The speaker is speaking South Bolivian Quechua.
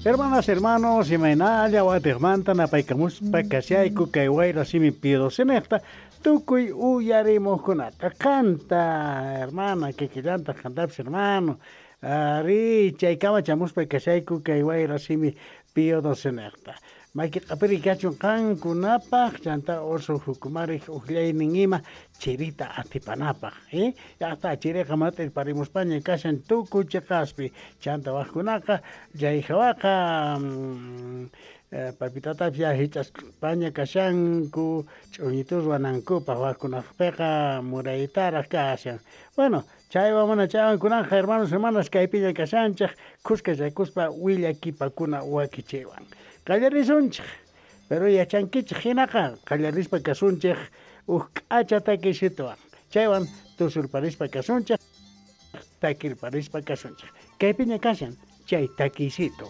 Hermanas, hermanos, imaynalla watiqmanta napaykamuspa kashayku kay wayra simi Pío XII tukuy uyarimuqkunata. Qanta, hermana, kikillantaq qantapis, hermano. Ari, chaykama chamuspa kashayku kay wayra simi Pío XII. Maki q'apiri kachun qankunapaq, chanta oso jukumarik uqllaynin ima chirita atipanapaq. Eh? Llaqta chiriqa mat'irparimuspaña kashan tukuy chiqaspi. Chanta waqkunaqa chay hawaqa papitatapis ya hich'aspaña kashanku ch'uñitu ruwanankupaq, waqkunaqpiqa muraytaraq kashan. Bueno, chaywan mana chaywan kunanqa, hermanos, hermanas, kaypiña kashanchik khuskachakuspa willakipakuna wakichiywan. Qallarisunchik. Pero yachankichik hinaqa qallarispa kasunchik huk k'acha takisituwan. Chaywan tusurparispa kasunchik, takirparispa kasunchik. Kaypiña kashan chay takisito.